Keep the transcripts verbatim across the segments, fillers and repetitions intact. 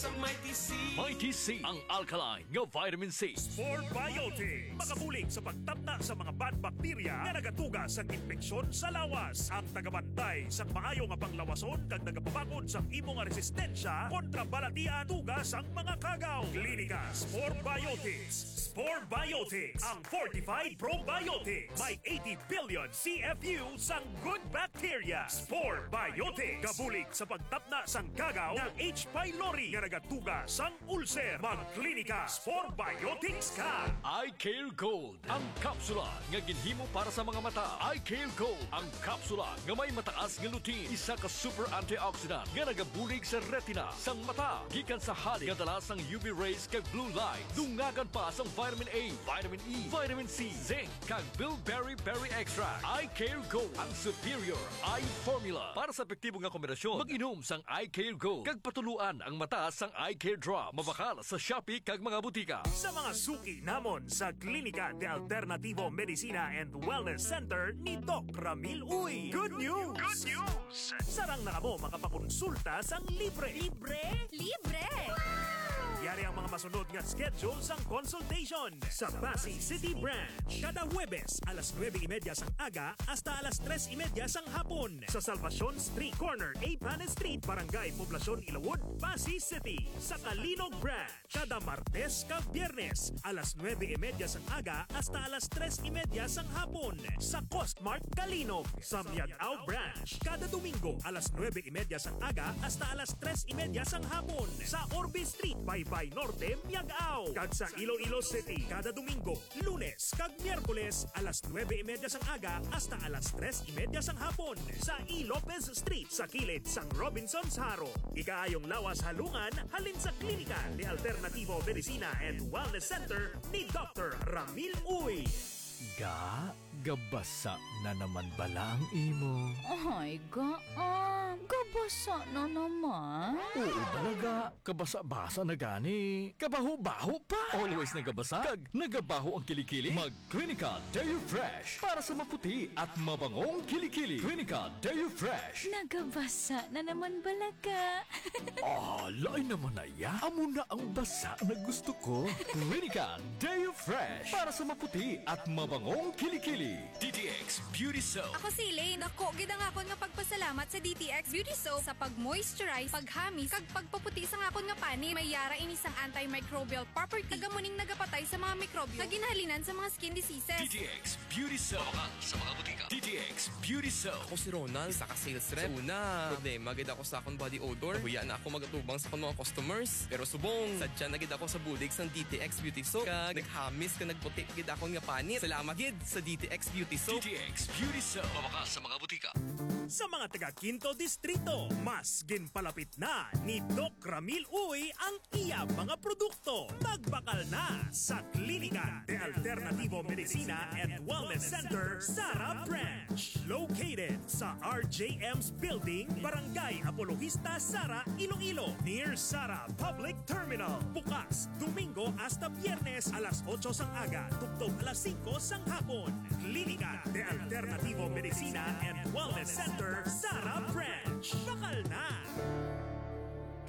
Sa Mighty C. Mighty C, ang alkaline nga vitamin C. Spore Biotics, makabulig sa pagtapna sa mga bad bacteria nga nagatuga sa impeksyon sa lawas. Ang tagabantay sang maayo nga panglawason kag nagapabakod sang imo nga resistensya kontra balatian tuga sang mga kagaw. Klinika Spore Biotics. Spore Biotics, ang fortified probiotics. May eighty billion C F U sang good bacteria. Spore Biotics, kabulig sa pagtapna sang kagaw nga H. pylori nga nagatuga sang ulcer. Magklinika Spore Biotics ka. Eye Care Gold, ang kapsula nga ginhimo para sa mga mata. Eye Care Gold, ang kapsula nga may mataas nga lutein, isa ka super antioxidant nga nagabulig sa retina sang mata gikan sa halin nga dala sang U V rays kag blue light. Dungagan pa sang vitamin A, vitamin E, vitamin C, zinc, kag bilberry berry extract. Eye Care Gold, ang superior eye formula. Para sa epektibo nga kombinasyon, mag-inom sang Eye Care Gold kag patuluan ang mata sang Eye Care Drop. Mabakal sa Shopee kag mga butika. Sa mga suki namon sa Klinika de Alternativo Medicina and Wellness Center ni Doc Ramil Uy, good news! Good news! Sarang na kamo makapakonsulta sang libre. Libre? Libre! Yari ang mga masunod nga schedule sang consultation. Sa Passi City Branch, kada Huwebes, alas nuebe y media sang aga hasta alas tres y media sang hapon, sa Salvacion Street, corner Apanes Street, Barangay Poblacion, Ilawod, Passi City. Sa Calinog Branch, kada Martes kag Biyernes, alas nuebe y media sang aga hasta alas tres y media sang hapon, sa Costmart Calinog. Sa Miag-ao Branch, kada Domingo, alas nuebe y media sang aga hasta alas tres y media sang hapon, sa Orbe Street, Baybay Norte, Miag-ao. Kag sa Iloilo City, kada Domingo, Lunes, kag Miyerkules, alas nuebe y media sang aga hasta alas tres y media sang hapon, sa E. Lopez Street, sa kilid sang Robinsons Jaro. Ikaayong lawas halungan halin sa Klinika de Alternativo Medicina and Wellness Center ni Doctor Ramil Uy. Ga, gabasa na naman bala ang imo? Ay, ga, ah, gabasa na naman. Oo, bala ga, kabasa-basa na gani. Kabaho-baho pa. Always nagabasa kag nagabaho ang kilikili. Mag Clinica Deo Fresh para sa maputi at mabangong kilikili. Clinica Deo Fresh. Nagabasa na naman bala ga. Ah, lain naman na ya. Amo na ang basa na gusto ko. Clinica Deo Fresh para sa maputi at mabangong kilikili. D T X Beauty Soap. Ako si Elaine. Dako gid ang akon nga pagpasalamat sa D T X Beauty Soap sa pag-moisturize, paghamis, kag pagpaputi sang akon nga panit. May yara ini sang antimicrobial property, kag amo ning nagapatay sa mga mikrobyo nga ginhalinan sa mga skin diseases. D T X Beauty Soap. Mabakal sa mga butika. D T X Beauty Soap. Ako si Ronald, isa ka sales rep. Sa una, problema gid ako sa akong body odor. Nahuya na ako mag-atubang sa akong mga customers. Pero subong, sadya na gid ako sa bulig sang D T X Beauty Soap. Kag naghamis kag nagputi gid akon nga panit. Salamat gid sa D T X Beauty Soap. D T X Beauty Soap. Mabakal sa mga butika. Sa mga taga Quinto Distrito, mas ginpalapit na ni Doc Ramil Uy ang iya mga produkto. Magbakal na sa Klinika de Alternativo Medicina and Wellness Center, Sara Branch. Located sa R J M's Building, Barangay Apologista, Sara, Iloilo, near Sara Public Terminal. Bukas Domingo hasta Biyernes, alas otso sang aga tubtob alas singko sang hapon. Klinika de Alternativo Medicina and Wellness Center, Sara Branch. Bakal na!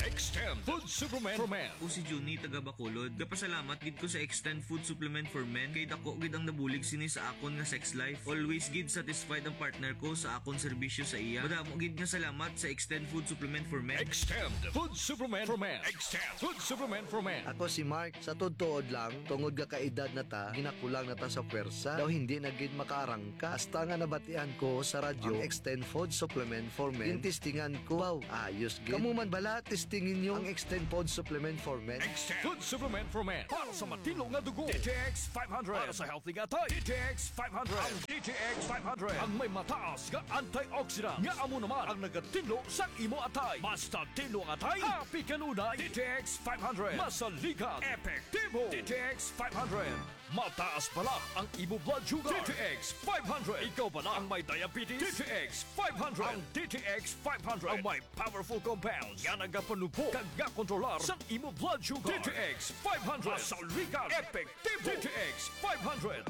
Extend Food Supplement for Men. Ako si Junie, taga Bacolod. Gapasalamat gid ko sa Extend Food Supplement for Men kay dako gid ang nabulig sini sa akon nga sex life. Always gid satisfied ang partner ko sa akon serbisyo sa iya. Madamo gid nga salamat sa Extend Food Supplement for Men. Extend Food Supplement for Men. Extend Food Supplement for Men. Ako si Mark. Sa tuod-tuod lang, tungod nga kaedad na ta, ginakulang na ta sa pwersa. Daw hindi na gid makaarangka. Hasta nga nabatian ko sa radyo ang Extend Food Supplement for Men. Gintistingan ko. Wow, ayos gid. Kamo man bala, testingi ninyo ang Extend Food Supplement for Men. Extend Food Supplement for Men. Para sa matinlo nga dugo, D T X five hundred. Para sa healthy nga atay, D T X five hundred. Ang D T X five hundred ang may mataas nga antioxidant nga amo naman ang nagatinlo sa imo atay. Basta tinlo ang atay, happy kanunay. D T X five hundred. Masaligan, epektibo. D T X five hundred. Mataas bala ang imo blood sugar. D T X five hundred. Ikaw bala ang may diabetes? D T X five hundred. Ang D T X five hundred ang may powerful compounds nga nagapanubo kag nga kontrolar sa imo blood sugar. D T X five hundred. Masaligan, epektibo. D T X five hundred.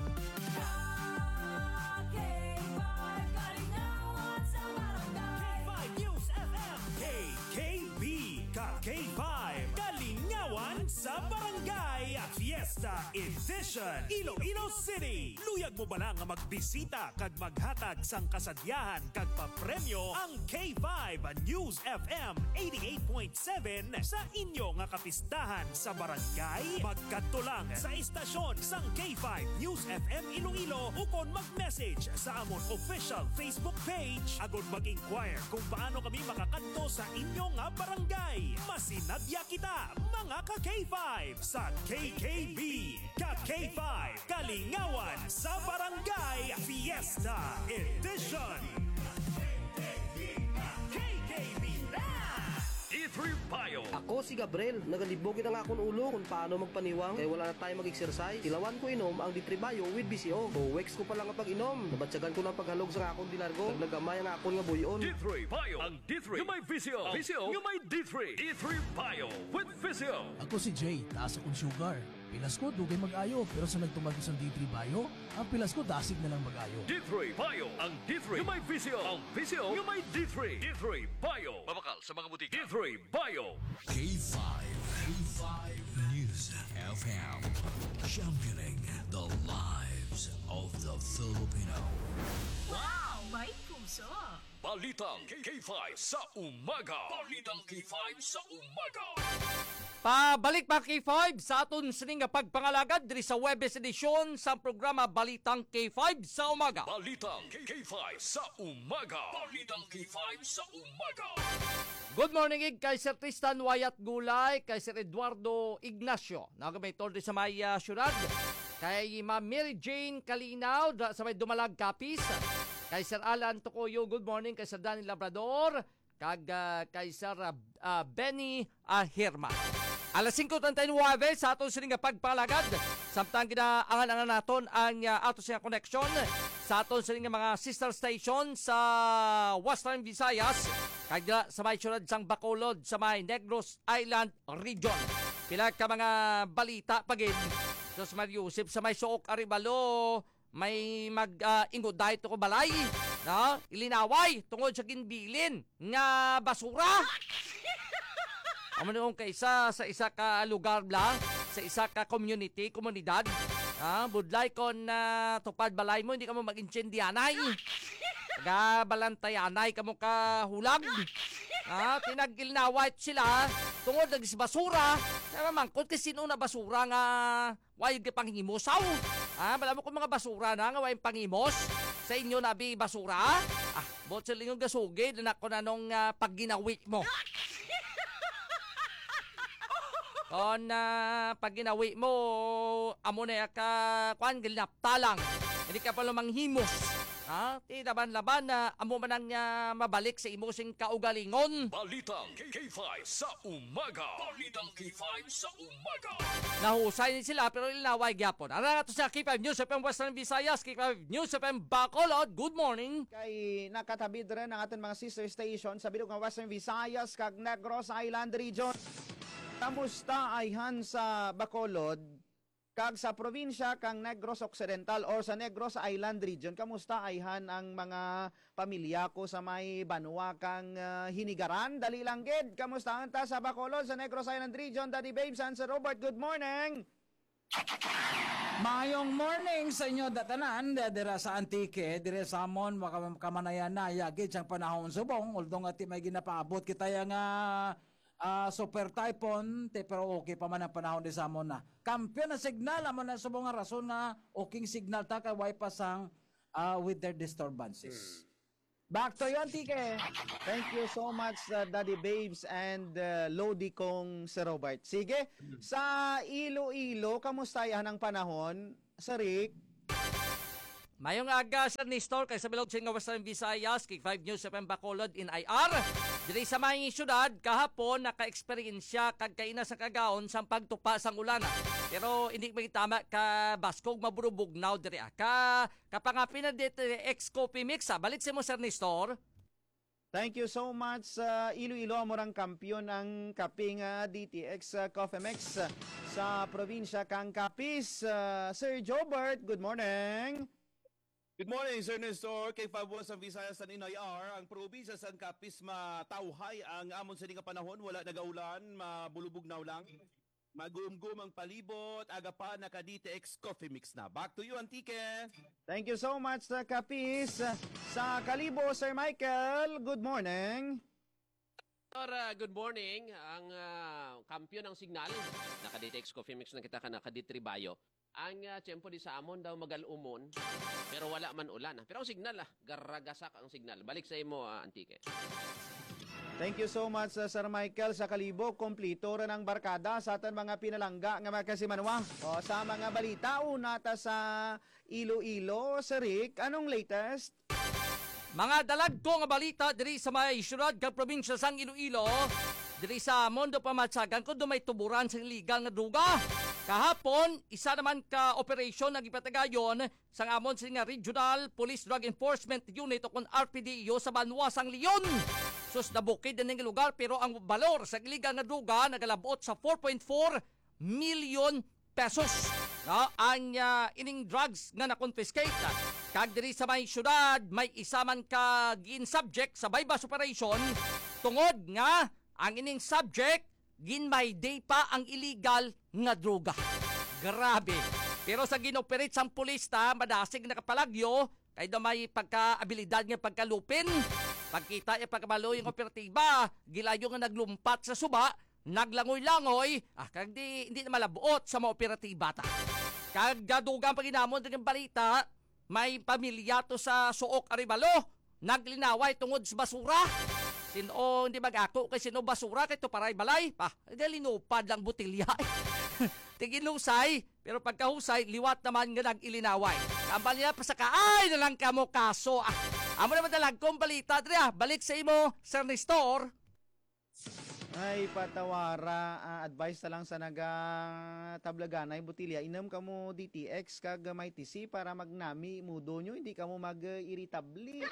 K five News F M. K K B, ka K five. Sa Barangay Fiesta Edition, Iloilo City. Luyag mo bala nga magbisita kag maghatag sang kasadyahan kag papremyo ang K five News F M eighty-eight point seven sa inyo nga kapistahan sa barangay? Magkadto lang sa istasyon sang K five News F M Iloilo ukon mag-message sa amon official Facebook page agud mag-inquire kung paano kami makakadto sa inyo nga barangay. Masinadya kita, mga ka K five, sa K K B, ka K five, Kalingawan sa Barangay Fiesta Edition. K K B na! D three Bio. Ako si Gabriel. Nagalibog gid ang akon ulo kung paano magpaniwang kay wala na tayo mag-exercise. Tilawan ko inom ang D three Bio with B C O. Two weeks ko pa lang ang pag-inom. Nabatyagan ko na ang paghalog sa akon di largo. Nagnagamay ang akon nga buy-on. D three Bio. Ang D three nga may V C O. V C O nga may D three. D three Bio with V C O. Ako si Jay, taas akong sugar. Pilas ko, dugay mag-ayo, pero sa nagtumag ko sang D three Bio, ang pilas ko dasig na lang mag-ayo. D three Bio, ang D three nga may V C O. Ang V C O nga may D three. D three Bio. Mabakal sa mga butika. D three Bio. K five, K five News F M, championing the lives of the Filipino. Wow! May puso! Balitang K five sa umaga. Balitang K five sa umaga. Pabalik pa K five sa aton sining nga pagpangalagad diri sa Webes edisyon sa programa Balitang K five sa umaga. Balitang K five sa umaga. Balitang K five sa umaga. Good morning, ig, kay Sir Tristan Wayat Gulay, kay Sir Eduardo Ignacio, na may tol sa may, ah, syudad, kay Ma'am Mary Jane Kalinaw, da, sa may Dumalag, Capiz, kay Sir Alan Tocoyo, good morning, kay Sir Danny Labrador, kag, ah, kay Sir, ah, ah, Benny, ah, Herman. Alas singko treinta y nueve sa aton sini nga pagpalagad. Samtang ginaangan-angan naton ang, ah, ato siya connection sa aton sini nga mga sister station sa Western Visayas, kag dira sa may syudad sang Bacolod, sa may Negros Island Region. Pila ka mga balita pa gid. Sus Mario Joseph, sa may Suok Arevalo, may mag, ah, ingot dahil to ko balay, no? Ilinaway tungod sa ginbilin nga basura. Amo na kung kaisa sa isa ka lugar bla, sa isa ka community, komunidad, ah, budlay kon, ah, tupad balay mo, hindi ka mo mag-intindihanay. Gabalantayanay ka mo ka hulag. Ah, tinag-ilinaway sila tungod nag basura. Namamangkot kay sino na basura nga Way gid panghimos, aw. Ah, bala mo kung mga basura na nga way panghimos sa inyo, nabi basura. Ah, buot sa lingon gasugid na ko na nung, ah, pagginawi mo. Kon, ah, pagginawi mo, amo na ya ka, kwan, ginapta lang. Hindi ka pa lumanghimos. Ha? Ti laban-laban na amo man ang, ah, mabalik sa imo sing kaugalingon. Balitang K five sa umaga. Balitang K five sa umaga. Nahusay ni sila, pero ilinaway gyapon. Ara nga to sa K five News F M Western Visayas, K five News F M Bacolod. Good morning. Kay nakatabid rin ang aton mga sister station sa bilog nga Western Visayas kag Negros Island Region. Kamusta ayhan sa Bacolod? Kag sa probinsya kang Negros Occidental or sa Negros Island Region, kamusta ayhan ang mga pamilya ko sa may banwa kang, ah, Hinigaran? Dali lang gid. Kamusta ta sa Bacolod, sa Negros Island Region? Daddy Babes and Sir Robert, good morning. Mayong morning sa inyo datanan, da-, dira sa Antique, dire sa amon, maka-, kamanayan na, yagid sang panahon subong, although nga ti may ginapaabot kita ya nga, ah, super typhoon, te, pero okay pa man ang panahon di sa amon na. Kampiyon na signal, amo na subong nga rason nga okay signal ta kay way pa sang, ah, weather disturbances. Hmm. Back to you, Antique. Thank you so much, uh, Daddy Babes and, uh, Lodi kong Sir Robert. Sige, hmm, sa Iloilo, kamusta yan ang panahon, Sir Rick? Mayong aga, Sir Nestor, kay sa bilog sin nga Western Visayas, K five News F M Bacolod in I R. Diri sa may syudad, kahapon, naka-eksperyensya kag kaina sa kagaon sang pagtupa sang ulan. Pero hindi magtama ka baskog mabulubugnaw diri, ah. Ka, kapangapi na dito, ex Coffee Mix, ah. Balik sa mo, Sir Nestor. Thank you so much, uh, Iloilo, amo rang kampiyon ang kape nga D T X, uh, Coffee Mix, uh, sa probinsya kang Capiz. Uh, Sir Jobert, good morning. Good morning, Sir Nestor. Kay Fabua sa Visayas sa N I R, ang probinsya sang Capiz matawhay ang amon sini nga panahon, wala nagaulan, mabulubugnaw lang. Magumgum ang palibot, aga pa naka D T X Coffee Mix na. Back to you, Antique. Thank you so much, uh, Kapis. Sa Kalibo, Sir Michael, good morning. Or, uh, good morning. Ang, uh, kampiyon ng signal. Naka D T X Coffee Mix na kita ka naka D three Bayo. Ang, ah, tiyempo di sa amon daw magal-umon, pero wala man ulan, ah. Pero ang signal, ah, garagasak ang signal. Balik sa imo, ah, Antique. Thank you so much, uh, Sir Michael. Sa Kalibo, kumplito ra ang barkada sa aton mga pinalangga nga mga kasimanwa. O, sa mga balita, una ta sa Iloilo, Sir Rick, anong latest? Mga dalagko nga balita diri sa may siyudad kag probinsya sang Iloilo. Diri sa Mondo Pamatsagan, kuno may tuburan sa illegal nga droga. Kahapon, isa naman ka operasyon ang ipatagayon sang amon sini nga Regional Police Drug Enforcement Unit o kon R P D E O sa banwa sang Leon. Sus, nabukid na ning lugar, pero ang balor sa illegal nga droga nagalabot sa four point four million pesos, no, ang, ah, ining drugs nga na-confiscate. Kag diri sa may syudad, may isa man ka gin-subject sa buy-bust operation tungod nga ang ining subject gin-may-day pa ang illegal nga droga. Grabe. Pero sa gin-operate sang pulis ta, madasig nakapalagyo, kay daw may pagkaabilidad nga pagkalupin. Pagkita niya pagkabalo yung operatiba, gilayo nga naglumpat sa suba, naglangoy-langoy, ah, kag di, hindi na malabot sa mga operatiba ta. Kag gadugang paginamon din ang balita, may pamilya to sa Suok Arevalo, naglinaway tungod sa basura. Sino, hindi mag-ako kay sino basura, kay to paray balay. Ah, galinupad lang botilya. Tiginusay, pero pagkahusay, liwat naman nga nag-ilinaway. Tambal niya, pasakaay na lang kamo kaso. Ah, amo naman na lang kong balita, diri, ah. Balik sa imo, Sir Nestor. Ay, patawara. Ah, advice na lang sa naga tablaganay botilya. Inom kamo D T X kag may T C para magnami mudo nyo. Hindi kamo mag-iritable.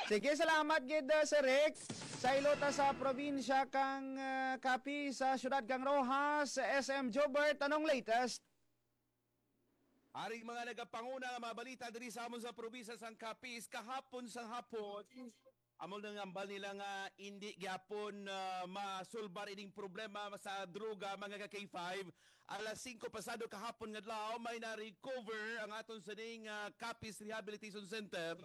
Sige, salamat gid, ah, Sir Rick. Sa ilota sa probinsya kang, ah, Capiz, sa syudad kang Roxas, S M Jobert, anong latest? Aring mga nagapanguna nga mga balita diri sa amon sa probinsya sang Capiz kahapon sang hapon. Amo nang ambal nila nga indi gyapon, ah, masulbar ining problema sa droga, mga ka K five. Alas singko pasado kahapon nga adlaw, may na-recover ang aton sining, ah, Capiz Rehabilitation Center.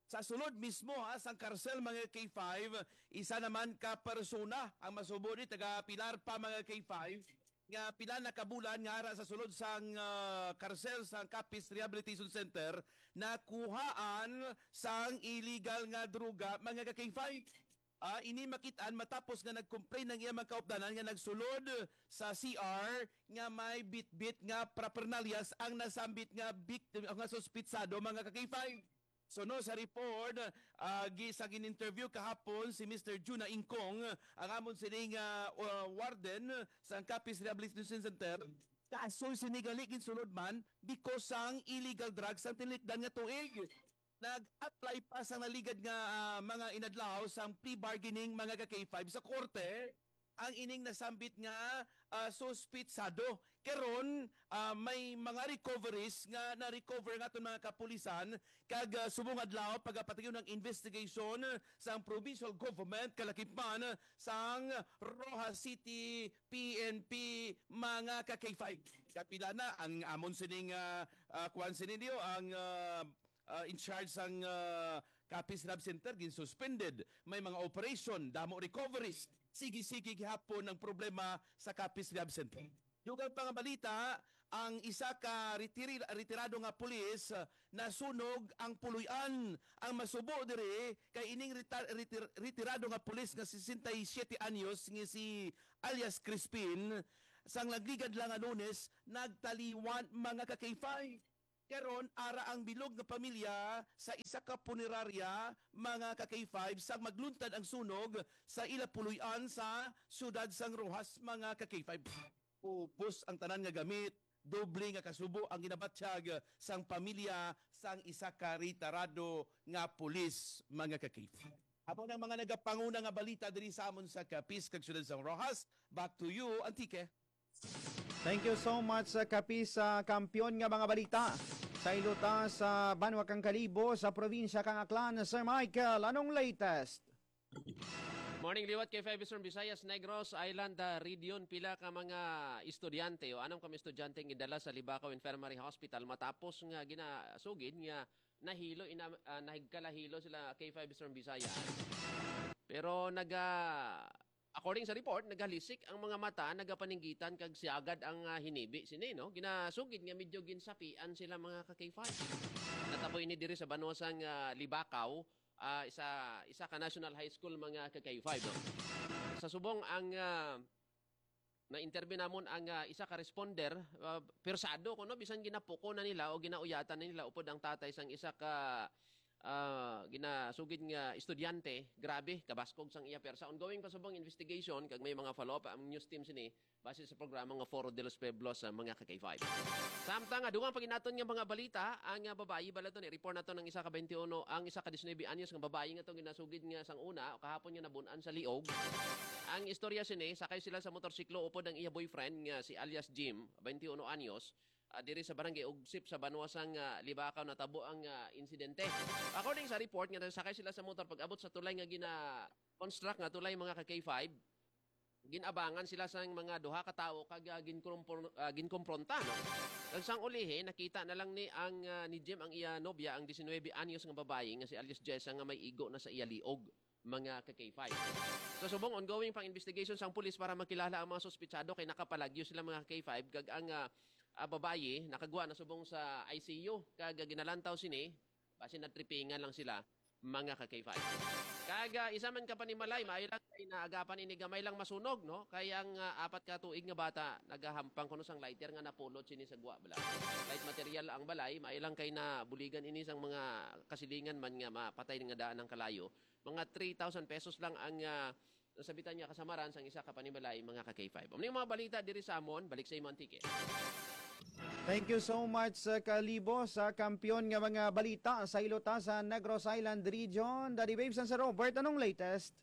Sa sulod mismo, ha, sang karsel, mga K five, isa naman ka persona ang masubo ni taga Pilar pa, mga K five, nga pila na ka bulan nga ara sa sulod sang, ah, karsel sang Capiz Rehabilitation Center, nakuhaan sang illegal nga droga, mga ka K five. Ah, ini makit-an matapos nga nag-complain ang iyang mga kaupdanan nga nagsulod sa C R nga may bitbit nga paraphernalias ang nasambit nga biktima, nga suspitsado, mga ka K five. Suno sa report, ah, gi-, sa gin-interview kahapon si Mister Juna Ingkong, ang amon sining, ah, uh, warden sa Capiz Rehabilitation Center, kaso sini gali ginsulod man because sang illegal drugs ang tinlikdan nga tuig. Nag-apply pa sang naligad nga, ah, mga inadlaw sang plea bargaining, mga ka K five, sa korte ang ining nasambit nga, ah, suspitsado. Karon, ah, may mga recoveries nga na-recover nga aton mga kapulisan kag, ah, subong adlaw pagapatiyon ang investigation sang provincial government kalakip man sang Roxas City P N P, mga ka K five. Kapila na ang amon sining, ah, ah, kuwan sininyo, ang, ah, ah, in charge sang, ah, Capiz Rehab Center ginsuspended. May mga operation, damo recoveries. Sige-sige gihapon ang problema sa Capiz Rehab Center. Dugang pa nga balita, ang isa ka retiri-, retirado nga pulis, ah, nasunog ang puloy-an. Ang masubo diri kay ining reta-, retir-, retirado nga pulis nga sesenta y siete anyos nga si alias Crispin, sang nagligad lang nga Lunes, nagtaliwan, mga ka K five. Karon, ara ang bilog nga pamilya sa isa ka punerarya, mga ka K five, sang magluntad ang sunog sa ila puloy-an sa siyudad sang Roxas, mga ka K five. Ubos ang tanan nga gamit, doble nga kasubo ang ginabatyag sang pamilya sang isa ka retirado nga pulis, mga ka K five. Amo nang mga nagapanguna nga balita diri sa amon sa Capiz kag siyudad sang Roxas. Back to you, Antique. Thank you so much, uh, Capiz, sa kampiyon nga mga balita. Sa ilota sa banwa kang Kalibo, sa probinsya kang Aklan, Sir Michael, anong latest? Morning liwat, K five Eastern Visayas, Negros Island, ah, Region. Pila ka mga estudyante o anam ka mga estudyante ang gidala sa Libacao Infirmary Hospital matapos nga ginasugid nga nahilo, ina-, ah, nahigkalahilo sila, K five Eastern Visayas. Pero naga-, according sa report, nagalisik ang mga mata, nagapaninggitan kag siagad ang, ah, hinibi sini, no? Ginasugid nga medyo ginsapian sila, mga ka-K five. Natabo ini diri sa banwa sang, ah, Libacao, ah, isa, isa ka national high school, mga ka-K five, no? Sa subong ang, ah, na-interview namon ang, ah, isa ka responder, ah, persado kuno, bisan ginapuko na nila o ginauyatan na nila upod ang tatay sang isa ka, ah, ginasugid nga estudyante. Grabe, kabaskog sang iya persa. Ongoing pa subong investigation kag may mga follow-up ang news team sini base sa programa nga Foro de los Pueblos, sa mga ka-K five. Samtang nga, dugang paginaton nga mga balita, ang, ah, babayi bala to ni report nato ng isa ka twenty-one, ang isa ka diecinuebe anyos nga babayi nga to ginasugid nga sang una o kahapon nga nabun-an sa liog. Ang istorya sini, sakay sila sa motorsiklo upod ang iya boyfriend nga si alias Jim, twenty-one anyos, ah, diri sa barangay Ugsip sa banwa sang, ah, Libacao natabo ang, ah, insidente. According sa report nga sakay sila sa motor pag-abot sa tulay nga gina-construct nga tulay, mga ka-K five, gin-abangan sila sang mga duha ka tawo kag, ah, ginkumpor-, ah, ginkompronta, no? Kag sang ulihi, nakita na lang ni ang, ah, ni Jim ang iya nobya, ang diecinuebe anyos nga babayi nga si alias Jessa nga may igo na sa iya liog, mga ka-K five. Sa subong, ongoing pang investigation sang pulis para makilala ang mga suspitsado kay nakapalagyo sila, mga ka-K five, kag ang, ah, ah, babayi nakagwa na subong sa I C U kag, ah, ginalantaw sini basin natripingan lang sila, mga ka-K five. Kag, ah, isa man ka panimalay, maayo lang kay naagapan ini gamay lang masunog, no? Kay ang, ah, apat ka tuig nga bata nagahampang kuno sang lighter nga napulot sini sa gwa, bala. Light material ang balay, maayo lang kay nabuligan ini sang mga kasilingan man nga mapatay nga daan ang kalayo. Mga three thousand pesos lang ang, ah, nasabitan nga kasamaran sang isa ka panimalay, mga ka-K five. Amo ni mga balita diri sa amon, balik sa imo, Antique. Thank you so much, uh, Kalibo, sa kampiyon nga mga balita sa Ilota, sa Negros Island Region. Daddy Babes and Sir Robert, anong latest?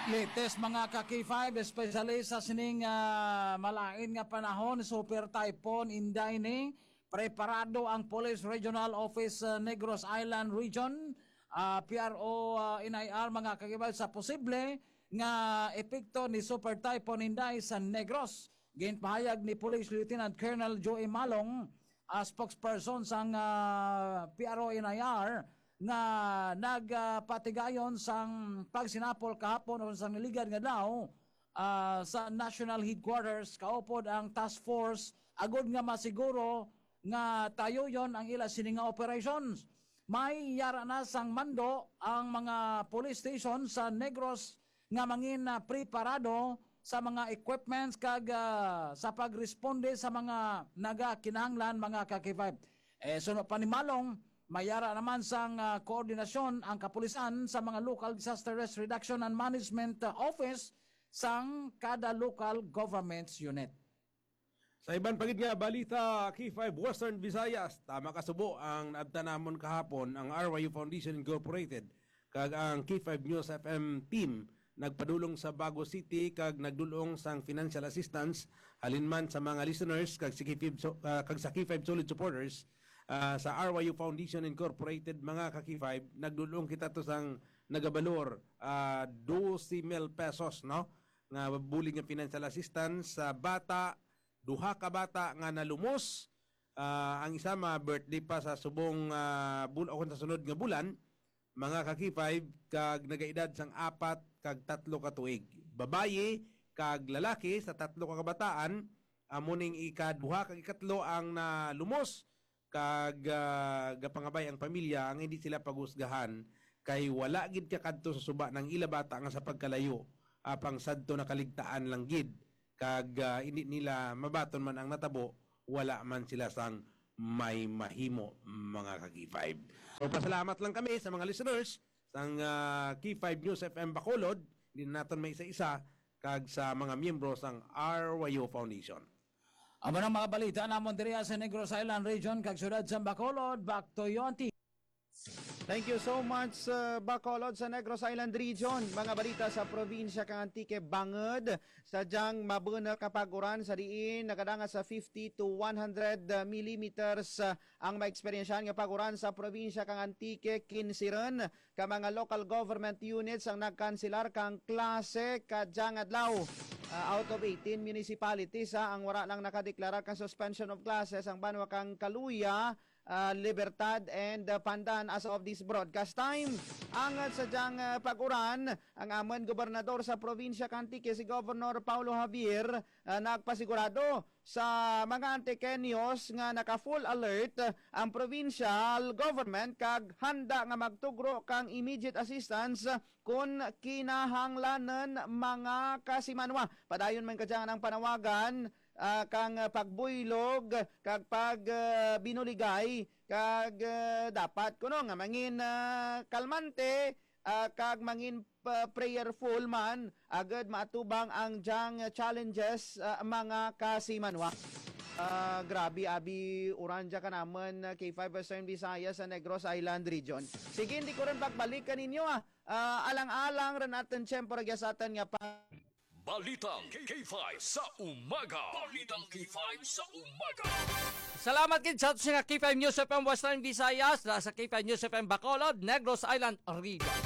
Latest, mga ka-K five, especially sa sining, ah, malain nga panahon, Super Typhoon Inday ni, preparado ang Police Regional Office, ah, Negros Island Region, ah, P R O, ah, N I R, mga ka-K five, sa posible nga epekto ni Super Typhoon Inday sa Negros. Ginpahayag ni Police Lieutenant Colonel Joey Malong, ah, spokesperson sang, ah, P R O N I R, nga nagpatigayon sang pagsinapol kahapon o sang naligad nga adlaw, ah, sa National Headquarters kaupod ang task force agod nga masiguro nga tayoyon ang ila sini nga operations. May yara na sang mando ang mga police station sa Negros nga mangin, ah, preparado sa mga equipments kag, ah, sa pagresponde sa mga nagakinahanglan, mga ka-K five. Eh, suno pa ni Malong, may yara naman sang, ah, koordinasyon ang kapulisan sa mga local disaster risk reduction and management, ah, office sang kada local government unit. Sa iban pa gid nga balita, K five Western Visayas, tama kasubo ang naabtan namon kahapon, ang R Y U Foundation Incorporated kag ang K five News F M team nagpadulong sa Bago City kag nagdul-ong sang financial assistance halin man sa mga listeners kag sa K five so-, ah, kag sa K five Solid supporters, ah, sa R Y U Foundation Incorporated, mga ka-K five, nagdul-ong kita to sang nagabalor, ah, dose mil pesos, no? Nga bulig nga financial assistance sa bata, duha ka bata nga nalumos. Ah, ang isa ma-birthday pa sa subong, ah, bul-, o sa sunod nga bulan, mga ka-K five, kag nagaedad sang apat kag tatlo ka tuig. Babayi kag lalaki sa tatlo ka kabataan, amo ning ikaduha kag ikatlo ang nalumos kag, ah, gapangabay ang pamilya nga hindi sila paghusgahan kay wala gid kakadto sa suba ng ila bata nga sa pagkalayo, apang sadto nakaligtaan lang gid kag, ah, hindi nila mabaton man ang natabo, wala man sila sang may mahimo, mga ka-K five. So, pasalamat lang kami sa mga listeners sang, ah, K five News F M Bacolod, hindi na naton may isa-isa, kag sa mga miyembro sang R Y U Foundation. Amo nang mga balita namon diri sa Negros Island Region kag siyudad sa Bacolod. Back to you, Auntie. Thank you so much, uh, Bacolod sa Negros Island Region. Mga balita sa probinsya kang Antique, bangod sa dyang mabunot nga pag-uran sa diin nagadangat sa fifty to one hundred millimeters, uh, ang maeksperiensyahan nga pag-uran sa probinsya kang Antique. Kinsiren ka mga local government units ang nagkanselar kang klase kadyang adlaw. Uh, out of eighteen municipalities, uh, ang wala lang nakadeklarar kang suspension of classes ang banwa kang Caluya, uh, Libertad, and, uh, Pandan as of this broadcast time. Angat sa dyang, uh, pag-uran, ang amon gobernador sa probinsya kang Antique, si Governor Paulo Javier, uh, nagpasigurado sa mga Antiqueños nga naka-full alert, uh, ang provincial government kag handa nga magtugro kang immediate assistance, uh, kun kinahanglanon, mga kasimanwa. Padayon man kadya ang panawagan, ah, kang, ah, pagbuylog kag pag, ah, binuligay kag, ah, dapat kuno nga mangin, ah, kalmante, ah, kag mangin pa-, prayerful man agud maatubang ang dyang challenges, ah, mga kasimanwa. Ah, grabe, abi, uran dya ka naman, ah, K five Western Visayas sa Negros Island Region. Sige, hindi ko rin pagbalik kaninyo, ah. Ah, alang-alang rin aton tiyempo ra sa aton nga pa- Balitang K five sa umaga. Balitang K five sa umaga. Salamat gid sa ato nga K five News F M Western Visayas, na sa K five News F M Bacolod, Negros Island Region.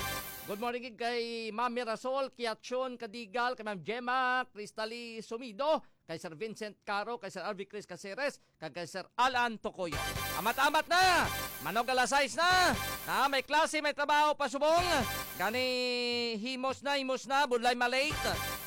Good morning gid kay Ma'am Mirasol Kiachon Kadigal, kay Ma'am Gemma Cristali Sumido, kay Sir Vincent Caro, kay Sir Alvin Chris Caceres, kag kay Sir Alan Tocoyo. Amat-amat na! Manog alas sais na! Na may klase, may trabaho pa subong. Gani himos na, himos na, budlay malate.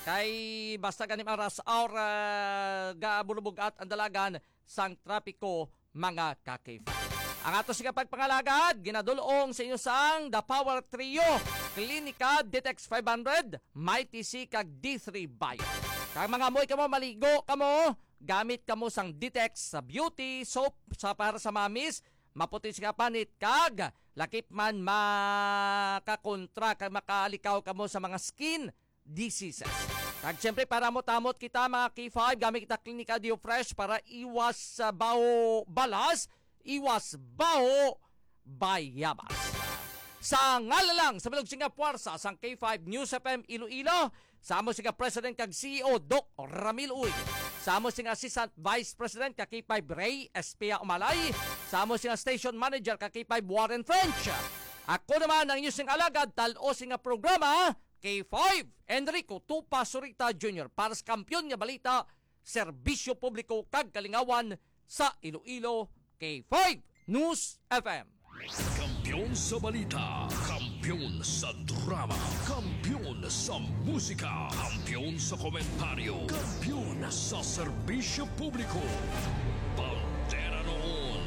Kay basta gani ang rush hour, ah, gabulubog-at ang dalagan sang trapiko, mga ka-K five. Ang ato sing pagpangalagad, ginadul-ong sa inyo sang The Power Trio, Klinika, Ditex five hundred, Mighty C, kag D three Bio. Kag mga amoy kamo, maligo kamo, gamit kamo sang Ditex sa beauty soap sa para sa mamis, maputi sing panit, kag lakip man makakontra kag makalikaw kamo sa mga skin diseases. Kag siyempre, para mo tamot kita, mga K five, gamit kita Klinika Deo Fresh para iwas sa baho balas, iwas baho bayabas. Sa ngalan lang sa bilog sing puwersa sang K five News F M Iloilo, sa amo sing President kag C E O, Doc Ramil Uy, sa amo sing Assistant Vice President ka K five, Ray Espia Umalay, sa amo sing Station Manager ka K five, Warren French. Ako naman ang inyo sing alagad, tal-o sing programa, K five, Enrico Tupa Surita Junior, para sa Kampiyon nga Balita, Serbisyo Publiko kag Kalingawan sa Iloilo, K five News F M. Kampiyon sa balita, kampiyon sa drama, kampiyon sa musika, kampiyon sa komentaryo, kampiyon sa serbisyo publiko. Bandera noon,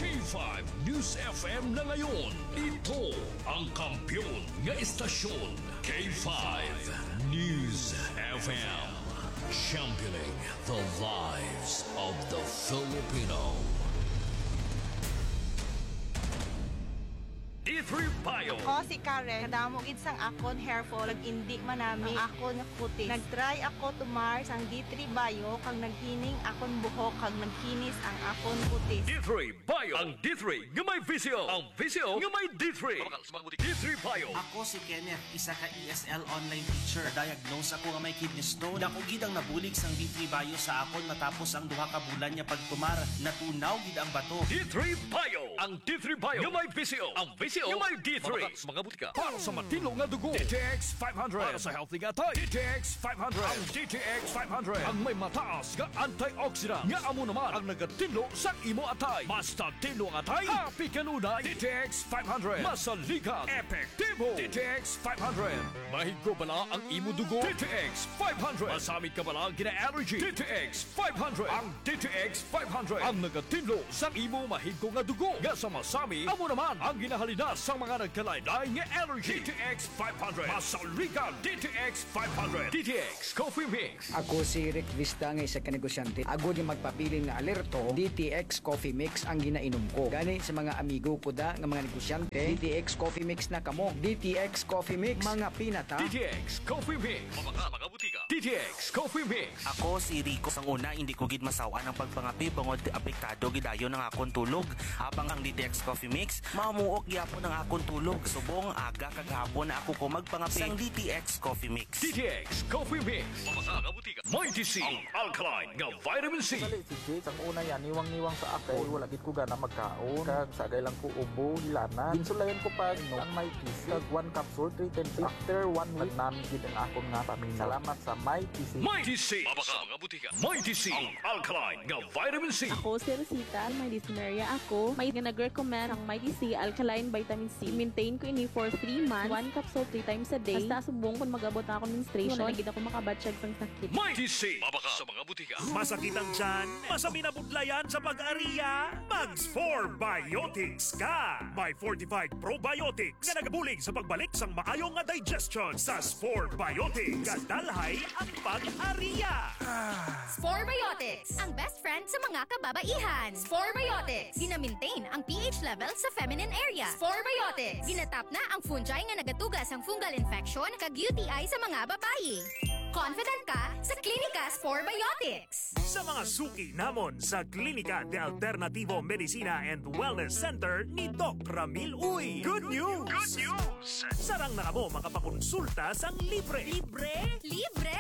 K five News F M na ngayon. Ito ang kampiyon nga estasyon, K five News F M. Championing the lives of the Filipino. D three Bio. Ako si Karen. Kadamo gid sang akon hair fall, nag-indi man nami ang akon kutis. Nag-try ako tumar sang D three Bio, kag naghining akon buhok, kag nagkinis ang akon kutis. D three Bio. Ang D three nga may visyo. Ang visyo nga may D three. Mabakal sa mga butika. D three Bio. Ako si Kenneth, isa ka E S L online teacher. Diagnose ako nga may kidney stone. Dako gid ang nabulig sang D three Bio sa akon matapos ang duha ka bulan nga pagtumar. Natunaw gid ang bato. D three Bio. Ang D three Bio nga may visyo. Ang visyo nga may D three. Mabakal sa mga butika. Para sa matinlo nga dugo, D T X five hundred. Para sa healthy nga atay, D T X five hundred. Ang D T X five hundred ang may mataas nga antioxidant, nga amo naman ang nagatinlo sa imo atay. Basta tinlo ang atay, happy kanunay. D T X five hundred. Masaligan, epektibo. D T X five hundred. Mahigko bala ang imo dugo? D T X five hundred. Masamit ka bala ang gina-allergy? D T X five hundred. Ang D T X five hundred ang nagatinlo sang imo mahigko nga dugo nga sa masami, amo naman ang ginahalinas sang mga nagkalain-lain nga allergy. D T X five hundred. Masaligan, D T X five hundred. D T X Coffee Mix. Ako si Rick Vista nga isa ka negosyante. Agod nga magpabilin nga alerto, D T X Coffee Mix ang ginainom ko. Gani sa mga amigo ko da nga mga negosyante, D T X Coffee Mix na kamo. D T X Coffee Mix, mga pinata. D T X Coffee Mix. Mabakal sa mga butika. D T X Coffee Mix. Ako si Rico. Sang una, hindi ko gid masaw-an ang pagpangape bangod apektado gid dayon ang akon tulog. Habang Ang D T X Coffee Mix, mamuok gyapon ang akon tulog. Subong aga kag hapon na ako ko magpangapit. Sang D T X Coffee Mix. D T X Coffee Mix. Mga kabutika. Mighty C. Ang alkaline nga vitamin C. Dali, si Jake, ang una yan, niwang-niwang sa ako. Wala gid ko gana magkaon. Kag sagay lang ko ubo, hilana. Ginsulayan ko pa, no, ang Mighty C. Kag one capsule, three times. After one week, nami gid ang akon nga pamina. Salamat sa Mighty C. Mighty C. Mga kabutika. Mighty C. Ang alkaline nga vitamin C. Ako si Rosita, may dysmenorrhea ako. May nga nag-recommend ang Mighty C alkaline vitamin C. Maintain ko ini for three months. One capsule three times a day. Hasta subong kung mag-abot na akong menstruation, wala na gid ako makabatyag sang sakit. Mighty C. Mabaka sa mga butika. Masakit ang tiyan? Masaminabudlayan sa pag-ariya? Mag Spore Biotics ka! May fortified probiotics nga nagabulig sa pagbalik sang maayo nga digestion sa Spore Biotics. Kadalhay ang pag-ariya. Spore Biotics, ang best friend sa mga kababaihan. Spore Biotics, gina-maintain ang P H level sa feminine area. Spore Biotics, ginatap na ang fungi nga nagatuga sang fungal infection kag U T I sa mga babayi. Confident ka sa Klinika Spore Biotics. Sa mga suki namon sa Klinika de Alternativo Medicina and Wellness Center ni Doc Ramil Uy. Good news! Good news! Sarang na kamo makapakonsulta sang libre. Libre? Libre!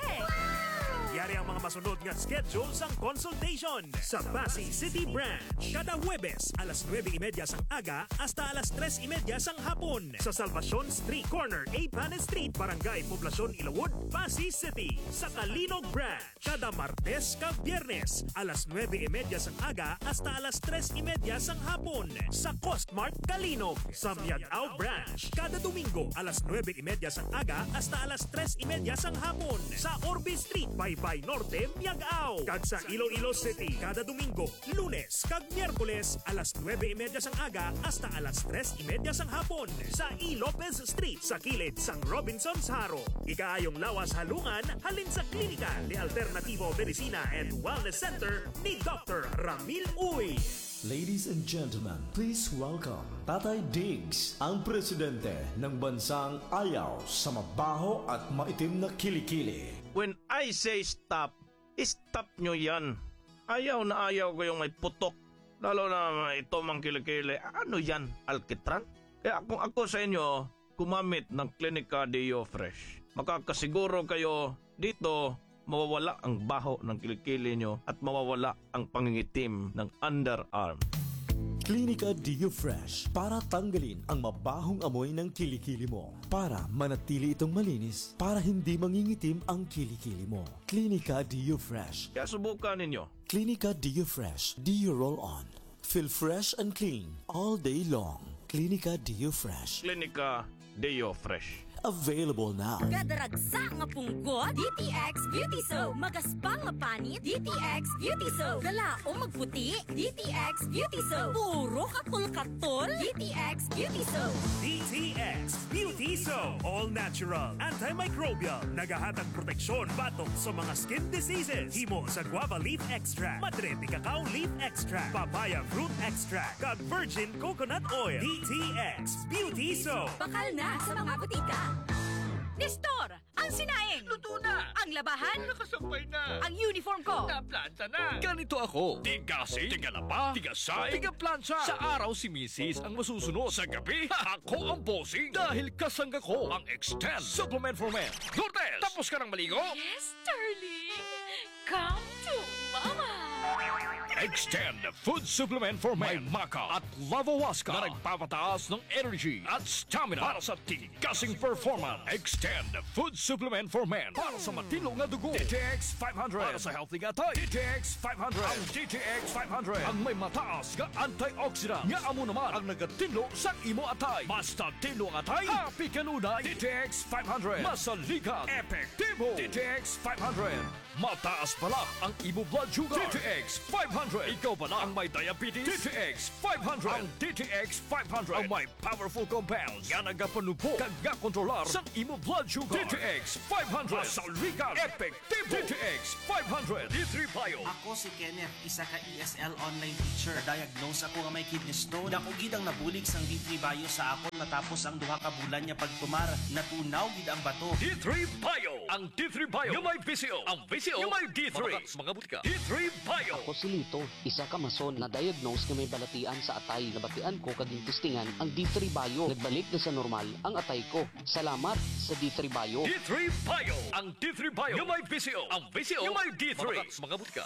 Yari ang mga masunod nga schedule sang consultation. Sa Passi City Branch, kada Huwebes alas nuebe y media sang aga hasta alas tres y media sang hapon. Sa Salvacion Street, corner Apanes Street, Barangay Poblacion, Ilawod, Passi City. Sa Calinog Branch, kada Martes kag Biyernes, alas nuebe y media sang aga hasta alas tres y media sang hapon, sa Costmart Calinog. Sa Miag-ao Branch, kada Domingo, alas nuebe y media sang aga hasta alas tres y media sang hapon, sa Orbe Street, Baybay Norte, Miag-ao. Kag sa Iloilo City, kada Domingo, Lunes kag Miyerkules, alas nuebe y media sang aga hasta alas tres y media sang hapon, sa E. Lopez Street, sa kilid sang Robinsons Jaro. Ikaayong lawas halungan halin sa Klinika de Alternativo Medicina and Wellness Center ni Doctor Ramil Uy. Ladies and gentlemen, please welcome Tatay Diggs, ang presidente ng bansang ayaw sa mabaho at maitim na kilikili. When I say stop, stop nyo yan. Ayaw na ayaw ko yung may putok. Lalo na ito mang kilikili. Ano yan? Alkitran? Kaya kung ako sa inyo, gumamit ng Klinika Deo Fresh. Makakasiguro kayo dito, mawawala ang baho ng kilikili nyo at mawawala ang pangingitim ng underarm. Klinika Deo Fresh para tanggalin ang mabahong amoy ng kilikili mo. Para manatili itong malinis, para hindi mangingitim ang kilikili mo. Klinika Deo Fresh. Kaya subukan ninyo. Klinika Deo Fresh Deo Roll On. Feel fresh and clean all day long. Klinika Deo Fresh. Klinika Deo Fresh. Available now. Kadaragsa nga punggot, D T X Beauty Soap. Magaspang nga panit, D T X Beauty Soap. Kalaom magputi, D T X Beauty Soap. Puro katol-katol, D T X Beauty Soap. D T X Beauty Soap. All natural, antimicrobial. Nagahatag proteksyon batok sa mga skin diseases. Himo sa guava leaf extract, madre de cacao leaf extract, papaya fruit extract, kag virgin coconut oil. D T X Beauty Soap. Bakal na sa mga butika. Nestor, ang sinaing. Luto na. Ang labahan. Nakasampay na. Ang uniform ko. Naplanta na. Ganito ako. Tigasing, tigalaba, tigasay, tigaplansa. Sa araw si misis ang masusunod. Sa gabi, ako ang bossing. Dahil kasangga ko ang Extend Supplement for Men. Lourdes, tapos ka nang maligo? Yes, darling. Come to Mama. Extend Food Supplement for Men. May maca at lavawaska na nagpapataas ng energy at stamina para sa tigasing performance. Extend Food Supplement for Men. Para sa matino nga dugo, D T X five hundred. Para sa healthy nga atay, D T X five hundred. Ang D T X five hundred ang may mataas nga antioxidant nga amo naman ang nagatinlo sa imo atay. Basta tinlo ang atay, happy kanunay. D T X five hundred. Masaligan, epektibo. D T X five hundred. Mataas bala ang imo blood sugar. D T X five hundred. Ikaw bala ang may diabetes? D T X five hundred. Ang D T X five hundred ang may powerful compounds nga nagapanubog kag nga kontrolar sa imo blood sugar. D T X five hundred. Masaligan, epektibo. D T X five hundred. D three Bio. Ako si Kenneth, isa ka E S L online teacher. Na-diagnose ako nga may kidney stone. Dako gid ang nabulig sang D three Bio sa akon matapos ang duha ka bulan nga pagtumar. Natunaw gid ang bato. D three Bio. Ang D three Bio nga may V C O. Ang V C O nga may D three. Mga, mga butika. D three Bio. Ako si Lito, Isa ka mason na-diagnose nga may balatian sa atay. Nabatian ko kag gintistingan ang D three Bio. Nagbalik na sa normal ang atay ko. Salamat sa D three Bio. D three Bio. Ang D three Bio nga may V C O. Ang V C O nga may D three. Mga butika.